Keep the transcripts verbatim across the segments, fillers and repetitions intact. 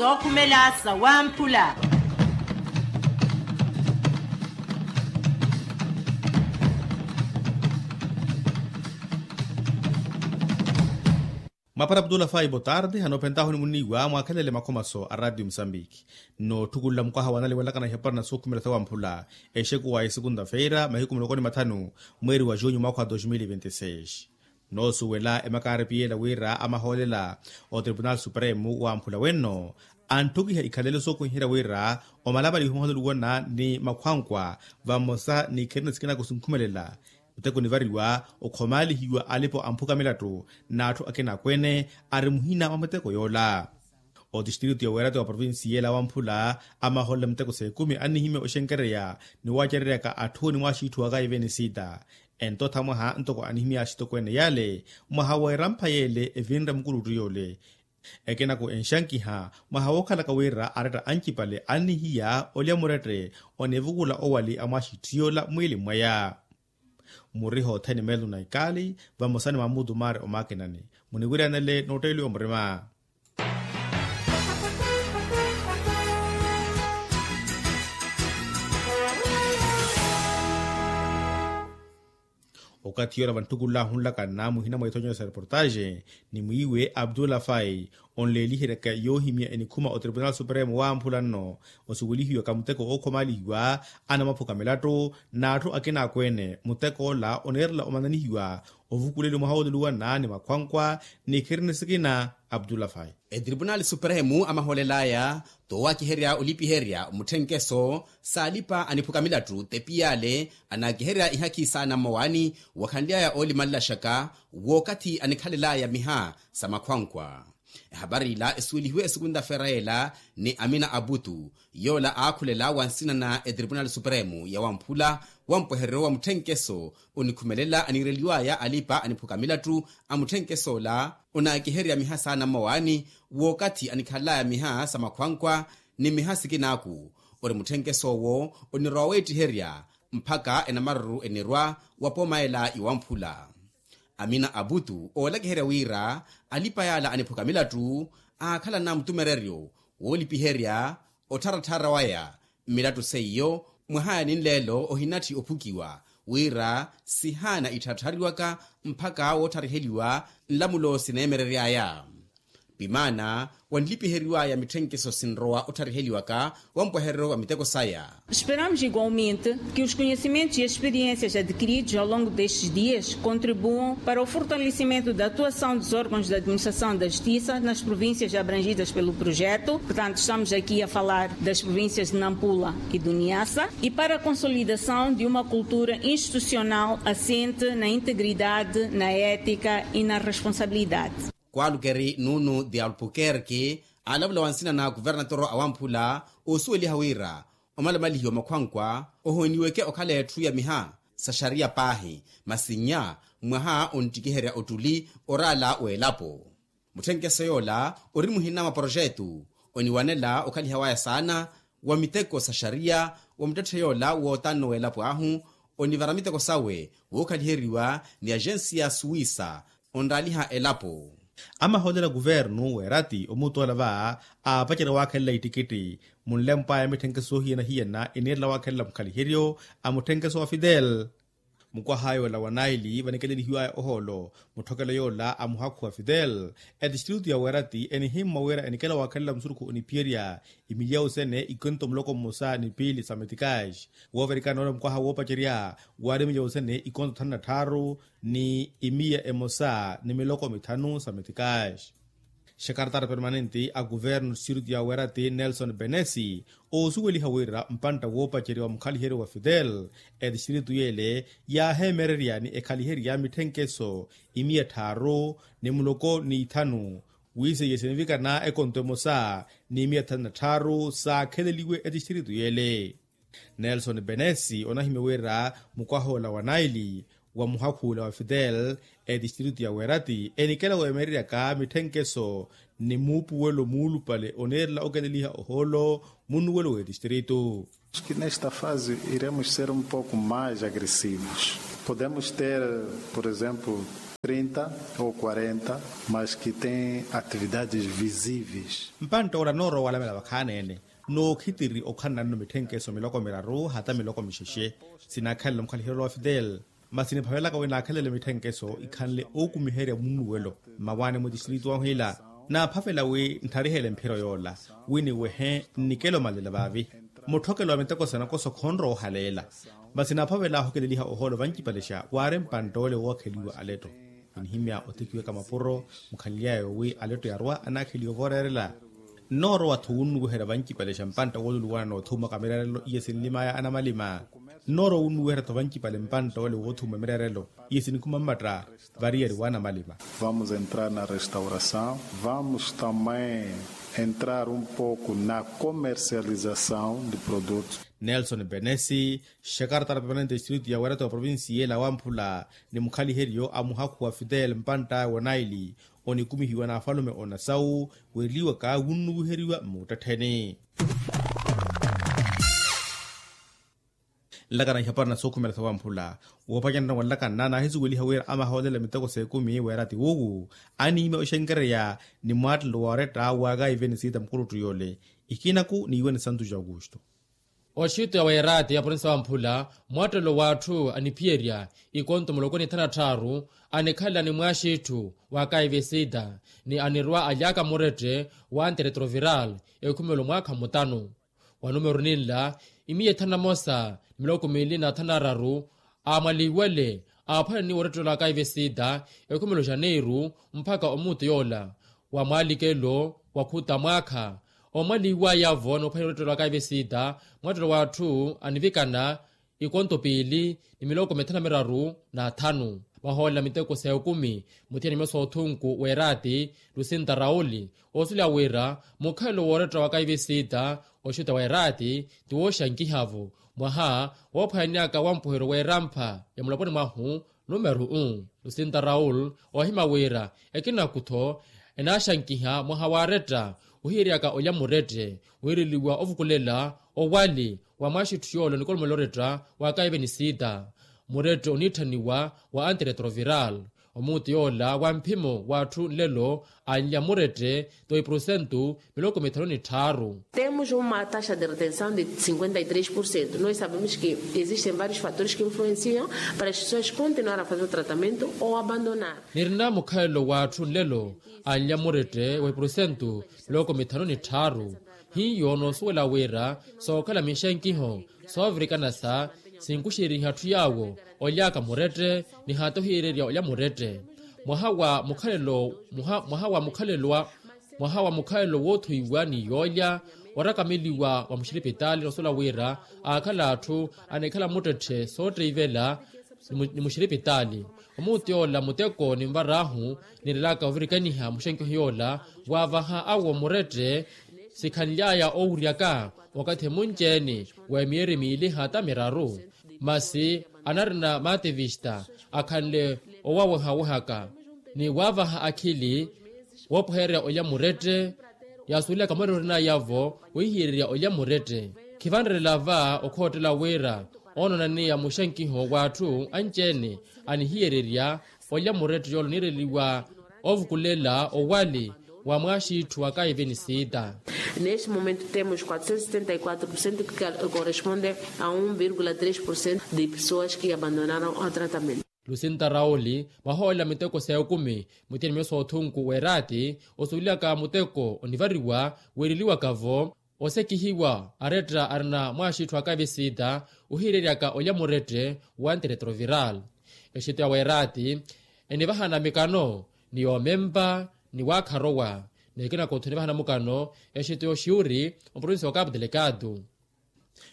Sookhumela sawamphula. Mwapara abdullah fai botarde hanophentahuni muniiwa mwakhelele makhomaso a ratio musambiki. Nnootthukululla mukwaha wanaliwelakana ihapara na sookhumela sawamphula exekuwa ya esekunta feira mahiku muloko ni mathanu, mweeri wa junyu mwaakha wa dos mil e vinte e seis. Noosuwela emakaari piyeela wira amahoolela otribunal supremo wamphula wenno, antthukiha ikhalelo sookuhiherya wira omalamalihiwa muhotoluwana ni makhwankwa vamosa ni kherina sikinako sinkhumelela. Muteko onivariwa okhomaalihiwa alipa amphuka milattu n'atthu akina akweene ari muhina mwa miteko yoola. Otistritu ya weerati wa provincia ela wamphula amahoolela miteko s'ekumi annihimya oxenkereya ni waacereryaka atthu ni mwaaxiitthu waka evenisita. Entotha mwaha ntoko anihimya axitokweene yale mwaha w'erampha yele evinre mukuluttu yole. Ekenako enxankiha mwaha wookhalaka wira aretta ancipale annihiya olya murette onivukula owali a mwaaxiitthu yoola mwiili mwaya. Muriha othene melu na ikali vamosa ni mamutu maari omakinani. Muniwiryanele nootteeliwa murima. Okathi yoora vanttukulla ahunlakana muhina mwa ithonyero sa reportaxe ni mwiiwe abdullah fai onleeliheryaka yoohimya enikhuma otribunal supremo wamphula nno osuwelihiwaka muteko ookhomaalihiwa anamaphuka milattu n'atthu akina akweene muteko ola oneerela omananihiwa ovukuleliwa mwaha wooluwana ni makhwankwa ni kherina sikina. Abdullah fai etripunali supremu amahoolel'aya toowakiherya olipiherya mutthenkeso s'alipa aniphuka milattu tepi yale anaakiherya ihakhi saana mmowaani wakhanly'aya oolimanlaxaka w'okathi anikhalel'aya miha sa makhwankwa. Ehapari ila esuwelihiwe esukunta-feera ela ni amina aputu yoola aakhulela wa nsina na etripunali supremu ya wamphula wa mpwehereryo wa mutthenkeso onikhumelela aniireliw'aya alipa aniphuka milattu a mutthenkeso ola onaakiherya miha saana mmowaani w'okathi anikhalel'aya miha sa makhwankwa ni miha sikinaaku ori mutthenkeso owo onirowa weettiherya mphaka enamaruru enirwa wa pooma ela iwamphula. Amina aputu oolakiherya wira alipa yala aniphuka milattu aakhalana mutumereryo woolipiherya ottharatthara waya mmilattu seiyo mwaha ya ninleelo ohinatthi ophukiwa wira sihaana ittharatthariwaka mphaka woothariheliwa nlamulo sineemerery'aya. Pimaana wanlipiheriw'aya mitthenkeso sinrowa otthariheliwaka wa mpwehereryo wa miteko saya. Esperamos igualmente que os conhecimentos e experiências adquiridos ao longo destes dias contribuam para o fortalecimento da atuação dos órgãos da administração da justiça nas províncias abrangidas pelo projeto. Portanto, estamos aqui a falar das províncias de Nampula e do Niassa e para a consolidação de uma cultura institucional assente na integridade, na ética e na responsabilidade. Kwalukeri nuno de albuquerque alavula wa nsina na kuvernatoro awamphula oosuweliha wira omalamalihiwa makhwankwa ohooniweke okhala etthu ya miha sa xariya paahi masi nnya mwaha onttikiherya ottuli oraala w'elapo. Mutthenkeso yoola ori muhina mwa poroxetu oniwanela okhaliha waya saana wa miteko sa xariya wa muttetthe yoola wootanno w'elapo ahu onivara miteko sawe wookhaliheriwa ni axensiya suwisa onraaliha elapo. Amahoolela kuvernu weerati omutola va aapacerya waakhelela ittikitti munlempw'aya mitthenkeso soohiyana-hiyana eniirela waakhelela mukhaliheryo a mutthenkeso wa fidel. Mukwah'aya ola wa naili vanikelelihiw'aya ohoolo mutthokelo yoola a muhakhu wa fidel etistritu ya weerati enihimmwa wira enikela waakhelela musurukhu oniphiyerya imiliyawu sene ikonto muloko mmosa ni piili sa metikaaxi. Woovirikana noola mukwaha woopacerya waari imiliyawu sene ikonto thanu na tthaaru ni imiya emosa ni miloko mithanu sa metikaaxi. Xekartara permanente a kuvernu sirtu ya weerati nelson benesi oosuweliha wira mpantta woopacerya wa mukhaliheryo wa fidel etistritu yele yaaheemererya ni ekhaliherya mitthenkeso imiya tthaaru ni muloko ni ithanu wiiseiye sinivikana ekonto emosa ni imiya tthanu na tthaaru saakheleliwe etistritu yele. Nelson benesi onahimya wira mukwah'ola wa naili wa muhakhuula wa fidel etistritu ya weerati enikela weemereryaka mitthenkeso ni muupuwelo muulupale oneerela okeleliha ohoolo munnuwelo w'etistritu. Nesta fase iremos ser um pouco mais agressivos. Podemos ter, por exemplo, Trinta ou quarenta, mas que tem atividades visíveis. Mpantta ola noorowa walamela vakhaani-ene, nookhitiri okhala nanno mitthenkeso miloko miraru hata miloko mixexe. Sinaakhalela mukhaliheryo wa fidel, masi niphavelaka wi naakhalele mitthenkeso ikhanle ookumiherya munnuwelo mmawaani mwa tistritu wahu ila. Naaphavela wi ntharihele mphiro yoola wi niwehe nnikelo malela vaavi. Mutthokelo wa miteko sanakoso khonrowa ohaleela. Masi naaphavela ahokeleliha ohoolo vancipalexa waari mpantta ole wookheliwa aletto. Enihimya otikiweka mapuro mukhanly'aya wi aletto yarwa anaakheliwa vooreerela. Nnoorowa-tho wunnuwiherya vancipalexa mpantta wooluluwana noothumaka mireerelo iye sinlim'aya anamalima. Nnoorowa wunnuwiherya-tho vancipale mpantta ole woothuma mireerelo iye sinikhuma mmatta variyari w'anamalima. Vamos entrar na restauração, vamos também entrar um pouco na comercialização de produtos. Nelson benesi, xekartara permanente distritu ya weerato ya provincia ela wamphula ni mukhaliheryo a muhakhu wa fidel mpantta wonaili onikumihiwa n'afalume onasawu, weereliwaka wunnuwiheriwa mmuuttettheni. Nlakana ihapari na sookhumela sawamphula woopacanana wanlakana naahisuweliha wira amahoolela miteko s'ekumi weera ti wuuwu aniimya oxenkereya ni mwaattelo wooretta waakaive ni siita mukuluttu yoole. Ikinaku niiwe ni santu ja aukusto. Oxitto ya weeraati ya provinsi sawamphula mwaattelo w'atthu aniphiyerya ikonto muloko ni thana tthaaru anikhalela ni mwaaxitthu waakaive siita ni anirwa alyaka murette wa antiretroviral ekhumelo mwaakha mutanu. Wa numeru ninla imiya ethanu na mosa ni miloko miili na thanu na araru aamwaliwale aaphwananiwa orettelo akaive siita ekhumelo janeiru mpakha omuutu yoola wa mwaalikelo wa khuta mwaakha. Oomwaliwaya-vo noophwananiwa orettelo akaive siita mwattelo w'atthu anivikana ikonto piili ni miloko mithanu na miraru na thanu. Vahoolela miteko s'ekumi muthiyani myosa othunku w'eraati lusinta rauli osuleya wira mukhalelo wooretta wa kaive siita oxuta w'eraati ti wooxankiha-vo mwaha woophwananiyaka wampuheryo w'erampha ya muloponi mwahu. Numeru u lusinta raul oohima wira ekinaku-tho enaaxankiha mwaha waaretta ohiyeryaka olya murette wiireliwa ovukulela owali wa mwaaxitthu yoola onikolomolela oretta wa kaive ni siita. Murette oniitthaniwa wa antiretroviral omuutu yoola wa mphimo w'atthu nlelo anlya murette ti wa iprosentu miloko mithanu ni tthaaru. Temos uma taxa de retenção de cinquenta e três por cento. Nós sabemos que existem vários fatores que influenciam para as pessoas continuar a fazer o tratamento ou abandonar. Nirina mukhalelo w'atthu nlelo anlya murette wa iprosentu miloko mithanu ni tthaaru. Hiyo noosuwela wira sookhala mixenkiho soovirikana sa sinkuxeriha atthu yaawo olyaka murette ni hata ohiyererya olya murette. Mwaha wa mukhalelo mwaha wa mukhalelo wa mwaha wa mukhalelo woothuwiwa ni yoolya orakameliwa wa muxiripitaali noosuwela wira aakhala atthu anikhala muttetthe sootteivela ni muxiripitaali. Omuutu yoola muteko ninvar'ahu nirelaka ovirikaniha muxenkiho yoola waavaha awo murette sikhanly'aya oowuryaka wakathi munci-ene wa emiyeri miili hata miraru. Masi anarina mativista akhanle owaawehawehaka ni waavaha akhili woopohererya olya murette. Yaasuwelaka murette orinaya-vo wohihiyererya olya murette. Khivanrerela va okhoottela wira oonananiya muxenkiho w'atthu anci-ene anihiyererya olya murette yoola oniireliwa ovukulela owali wa mwaaxitthu wa kaive ni siita. Neste momento temos quatrocentos e setenta e quatro por cento que corresponde a um vírgula três por cento de pessoas que abandonaram o tratamento. Lusinta rauli vahoolela miteko s'ekumi muthiyani myosa othunku w'eraati osuwelaka muteko onivariwa wiireliwaka-vo osekihiwa aretta arina mwaaxitthu akaive siita ohiyereryaka olya murette wa antiretroviral. Exitto ya w'eraati enivahana mikano ni yoomempa ni waakharowa ni ekinaku-tho enivahana mukano exitto y'oxiuri oprovinsi wa kapu delegado.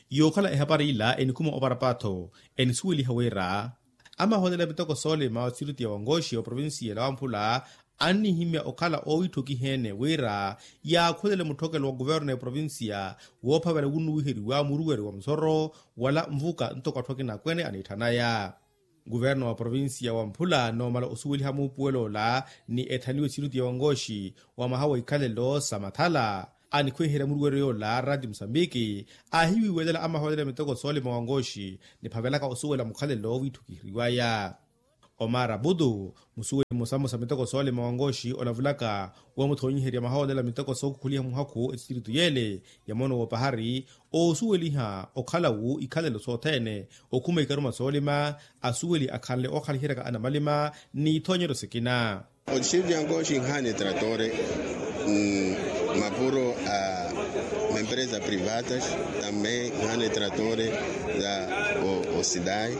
Yookhala ehapari ila enikhuma oparapatho enisuweliha wira amahoolela miteko soolima wa siriti ya wangoxi oprovinsiya ela wamphula annihimya okhala oowitthokiha-ene wira yaakhulele mutthokelo wa kuverno ya provinsiya woophavela wunnuwiheriwa muruweri wa musoro wala nvuka ntoko atthu akina akwene aniitthanaya. Kuverno wa provinsiya wamphula noomala osuweliha muupuwelo ola ni ethaniwe siriti ya wangoxi wa mwaha wa ikhalelo sa mathala anikhwiherya muruweryo yoola rati musambiki aahiwiiwelela amahoolela miteko soolima wangoxi niphavelaka osuwela mukhalelo wiitthukiheriwaya. Omar abudu, musuweli mmosa mmosa miteko soolima wa ngoxi olavulaka, wamuthoonyiherya mahoolela miteko sookhukhuliha muhakhu etistiritu yeele ya moono w'opahari, oosuweliha okhalawu ikhalelo sothene, okhuma ikaruma soolima, asuweli akhanle ookhaliheryaka anamalima n'ithoonyeryo sikina. Otistiritu ya ngoxi inhaana etratore, mapuro a mempresa privatas, tambe inhaana etratore za osidai,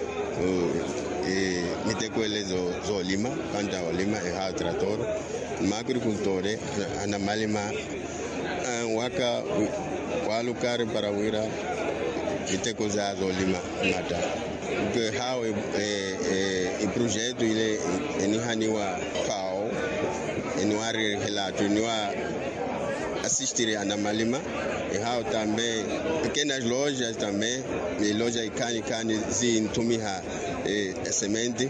miteko ele zoolima, panta olima ehawo tratore, maagrikultore, anamalima, waka walukari para wira miteko za zoolima mata. Ehawo eprojetu ile enihaniwa fao, eniwarihela athu eniwa asistiri anamalima. Ehawo tambe pekenas lojas tambe, loja ikhani ikhani zinthumiha esementi,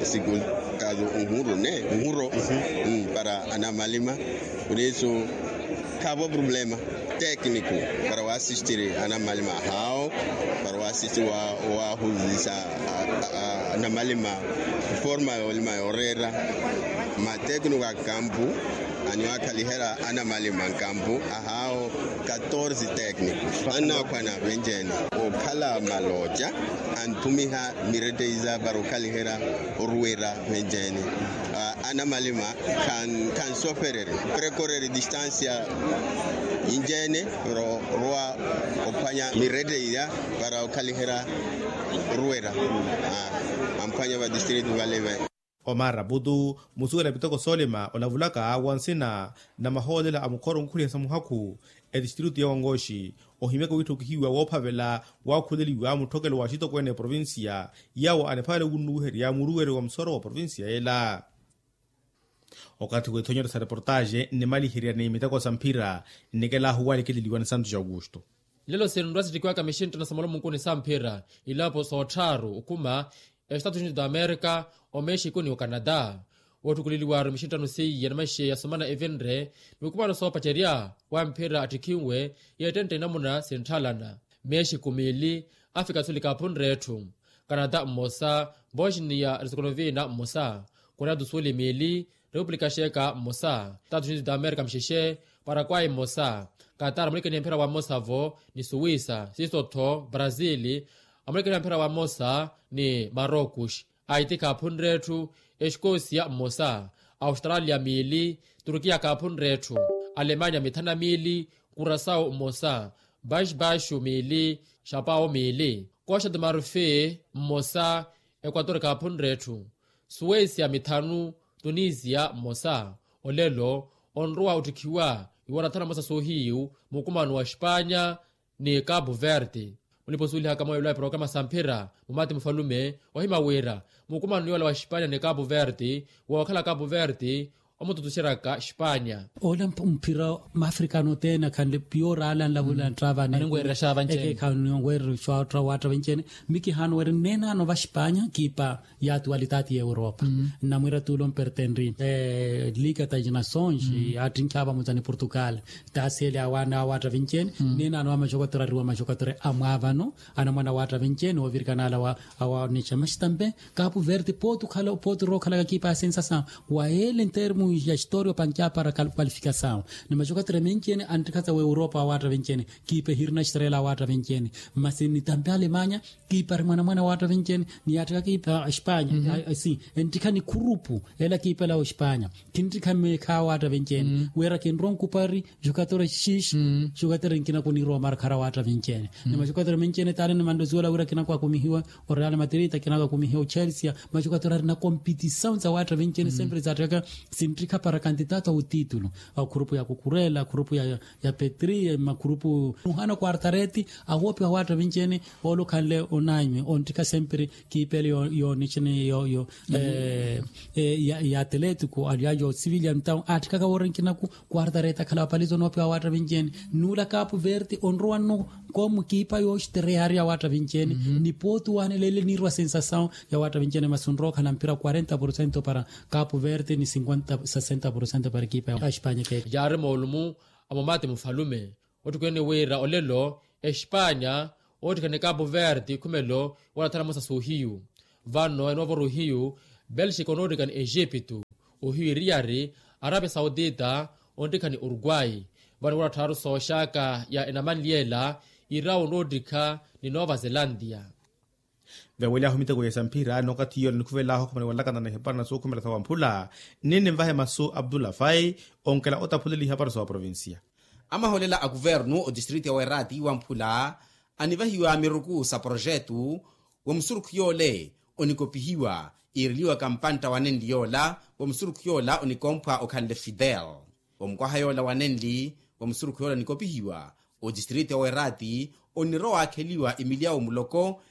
siku kazu nhuro ne nhuro para anamalima. Por isso, khavo problema tékniku para waasistiri anamalima ahawo, para waasistiri wahuzisa anamalima forma yoolima yooreera. Matékniku a kampu aniwaakhaliherya anamalima nkampu ahawo. Katorze tékniku annakhwana venci-ene okhala maloca, anthumiha mireteiza para okhaliherya oruwera venci-ene. Anamalima khansofereri prekoreri distansia yinci-ene para orowa ophwanya mirete iya para okhaliherya oruwera amphwanya vadistritu vale. Omar abudu, musuwela miteko soolima olavulaka wa nsina na mahoolela a mukhoro onkhuliha sa muhakhu, etistritu ya wangoxi, ohimyaka wiitthokihiwa woophavela waakhuleliwa mutthokelo wa axitokweene a eprovincia, yaawo aniphavale wunnuwiherya muruweri wa musoro wa provincia ela. Okathi w'ithonyero sa reportaxe nnimaliherya ni miteko sa mphira, nnikela ahuwalikeleliwa ni santos augusto. Lelo sinrwa sittikiwaka mixinttano sa molomunkuni sa mphira, ilapo soottharu okhuma estatu unidos da amerika, omexico ni ocanada. Woottukuleliwaru mixinttano seiya ni maxeya somana evinre, mikumaano soopacerya wa mphira attikhinwe, yeettentte inamuna sintthalana. Mexico miili, afrika suli kaaphunre etthu. Canada mmosa, bosnia herzegovina mmosa, korea do sul miili, repupulika xeeka mmosa, estados unidos da amerika mixexe, parakwai mmosa, katar mulikeni emphira wa mmosa-vo, ni suwisa siiso-tho brazil, amulikeni emphira wa mmosa ni marocos. Aiti kaaphunre etthu, exikosia mmosa, australia miili, turkiya kaaphunre etthu, alemanya mithanu na miili, kurasau mmosa, baixbaixu miili, xapau miili, costa de marfi mmosa, ekuator kaaphunre etthu, suwesia mithanu, tunisia mmosa. Olelo onrowa ottikhiwa iwarathana mmosa soohiyu mukumano wa espanya ni kapu verde. Mulipa osuwelihaka mweelo a eprograma sa mphira mumati mufalume, ohima wira mukumano yoola wa espanya ni kapu verde, wookhala kapu verde omututuxeryaka espanya. Ola mphira mafrikano othene akhanle piyoora ala nlavula ntravani. Aninweererya xaavanceene. Ekekhanweererya xaavanceene. Mikihaano weri nnenaano va espanya kiipa ya atualitaati ya europa. Nnamwiira tuulo mpertenri liga ta ginasons, attinkhi avamuza ni portugal, taaseli awaana awaatta vinci-ene. Nnenaano va maxokatura ariwa maxokatura amwaavano, anamwana awaatta vinci-ene oovirikana ala awaanixa maxi tampe. Kapu verde pooti okhala pooti rookhalaka kiipa ya sensasawu, wa ele ntermu ya historia opankya para kwalifikasawu. Ni maxokatura menci-ene anttikha sa wa europa awaatta vinci-ene. Kiipa ehirina estrela awaatta vinci-ene. Masi nitampe alemanya, kiipa ari mwanamwana awaatta vinci-ene. Niyaatthaka kiipa espanya, si enttikha ni khurupu ela kiipa ela wa espanya. Kinttikha meekha awaatta vinci-ene wira kinrowa nkupari. Jokatora xixe, jokatora nkina kunirowa markhara awaatta vinci-ene. Ni majokatora menci-ene taale nimantta osuwela wira kinaku akumihiwa oreal madrid, kinaku akumihiwa ochelsia. Majokatora ari na kompitisawu sa awaatta vinci-ene sempre zaatthaka sinttikha para kantitato a otitulu. Akhurupu ya kukurela akhurupu ya petri makhurupu, muhana quartareti awoopiwa awaatta vinci-ene. Oolo okhanle onaanywe onttikha sempre kiipele yoonixene yo ya atletiko aliya yo civilian town aatthikaka woorenkinaku. Quartareti akhala wapaliza onoopiwa awaatta vinci-ene. Nuula kapu verde onrowa nno komu kiipa yooxitereya ari awaatta vinci-ene. Ni pooti owaanela ele niirwa sensasawu ya awaatta vinci-ene masi onrowa okhala mpira quarenta porcento para kapu verde ni sesenta porcento para ekipa ya espanya ekeke. Yaari moolumu a mumati mufalume ottikweene wira olelo espanya oottikhane kapu verde khumelo wala thana mmosa soohiyu. Vano enoovora ohiyu Belxika onoottikha ni exiptu, ohiyu eriyari, arapia saudita, onttikha ni urukwai. Vano wala tthaaru sooxaka ya enamanli ela, irawo onoottikha ni nova zelantia. Vewelyahu miteko ya samphira n'okathi yoola nikhuvelaahu okhumela walakana na ihapara na sookhumela sa wamphula. Nini nvahe masu abdullah fai, onkela otaphuleli ihapara sa waprovincia. Amaholela a kuvernu otistriti ya werati wamphula, anivahiwa miruku sa projetu, wa musurukhu yoole onikopihiwa, iireliwaka mpantta wa nenli yoola, wa musurukhu yoola onikomphwa okhanle fidel. Omukwaha yoola wa nenli, wa musurukhu yoola onikopihiwa, otistriti ya werati, onirowa waakheliwa emilyawu muloko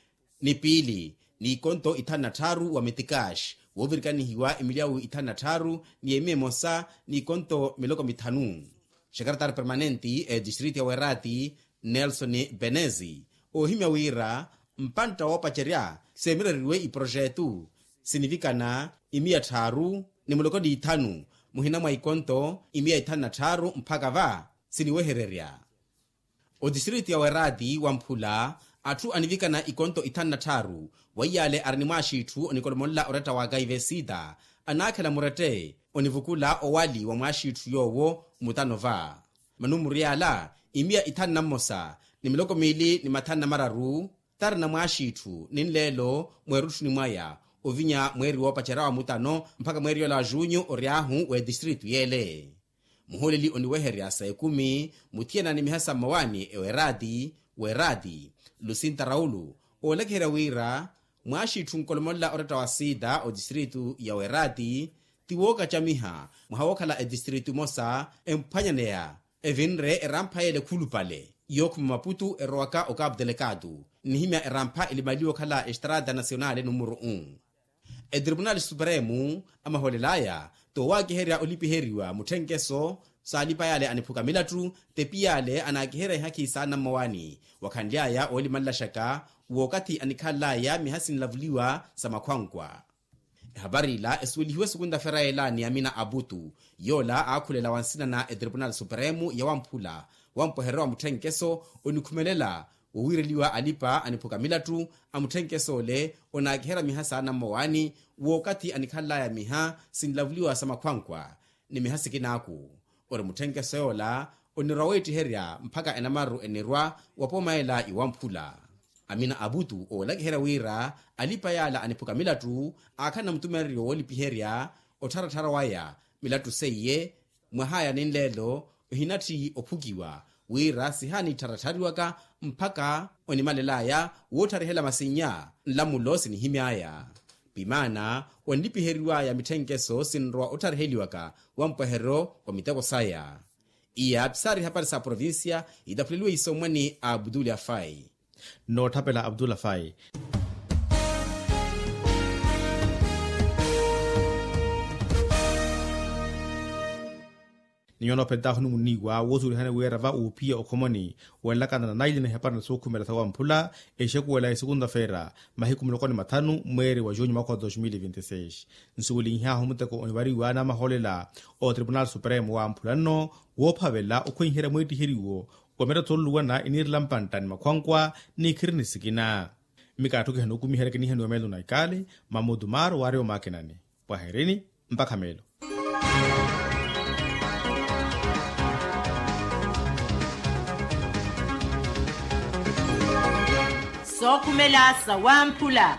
ni piili, n'ikonto ithanu na tthaaru wa metikaxi, woovirikanihiwa emilyawu ithanu na tthaaru ni emiya emosa n'ikonto miloko mithanu. Xekaretari permanenti etistriti ya werati, nelson benezi, oohimya wira mpantta woopacerya seemireriwe iprojetu, sinivikana imiya tthaaru ni muloko n'ithanu, muhina mwa ikonto imiya ithanu na tthaaru mphaka va siniwehererya. Otistriti ya werati wamphula, atthu anivikana ikonto ithanu na tthaaru, weiyaale ari ni mwaaxitthu onikolomolela oretta wa kaivesita, anaakhela murette onivukula owali wa mwaaxitthu yoowo mutano va. Manumuru yaala, imiya ithanu na mmosa ni miloko miili ni mathanu na mararu, tarina mwaaxitthu ni nleelo mweerutthuni mwaya, ovinya mweeri woopacerya wa mutano mpakha mweeri yoola wa junyu ory'ahu w'etistritu yeele. Muhooleli oniweherya sa ekumi, muthiyana ni miha sa mmawaani ewerati, werati, lusinta raulu, oolakiherya wira mwaaxitthu onkolomolela oretta wa sita otistritu ya werati, ti wookacamiha mwaha wookhala etistritu emosa emphwanyaneya, evinre erampha yeele khulupale yookhuma maputu erowaka okapu telekatu, nnihimya erampha elimaliwa okhala estrata nasionale numuru un. Etripunali supremu amahoolel'aya, toowakiherya olipiheriwa mutthenkeso, saalipa yaale aniphuka milattu, tepi yaale anaakiherya ihakhi saana mmawaani, wakhanly'aya oolimanlaxaka wookathi anikhanl'aya miha sinlavuliwa sa makhwankwa. Ehapari ila esuwelihiwe sukunta-feira yeela ni amina aputu, yoola aakhulela wa nsina na etripunali supremu ya wamphula, wampweherero wa mutthenkeso, onikhumelela wowiireliwa alipa aniphuka milattu a mutthenkeso ole, onaakiherya miha saana mmawaani wookathi anikhanl'aya miha sinlavuliwa sa makhwankwa ni miha sikinaaku. Ori mutthenkeso yoola onirwa weettiherya mpakha enamaru enirwa wa pooma ela iwamphula. Amina aputu oolakiherya wira alipa yaala aniphuka milattu, aakhala na mutumereryo woolipiherya ottharattharya waya milattu seiye, mwah'aya ni nleelo ohinatthi ophukiwa, wira sihaanittharatthariwaka mpakha onimalel'aya wootharihela masinnya nlamulo sinihimy'aya. Pimaana onlipiheriw'aya mitthenkeso sinrowa othariheliwaka wampweherero wa miteko saya. Iya pisaari ihapari sa provincia, itaphuliwe isommwani a abdullah fai. Nootthapela abdullah fai. Ni nyuwo noophentaahu ni muniiwa woosuwelihani wira va uuphiya okhomoni, wenlakana na naili na ihapari na sookhumela sa wamphula, exekuwela ya sukunta-feira mahiku muloko ni mathanu mweeri wa junyu mwakha wa dos mil e vinte seis. Nsuwelinhyahu muteko onivariwa n'amahoolela otripunali supremu wamphula nno, woophavela okhwenyiherya mwiittiheriwo wa miratho oluluwana eniirela mpantta ni makhwankwa ni ikhirini sikina. Mmikaatho kihanukumiherya kiniihaniwa meelo na ikaali, mamutu maaro waari omaakinani. Pwaherini mpakha meelo. Sookhumela sa wamphula.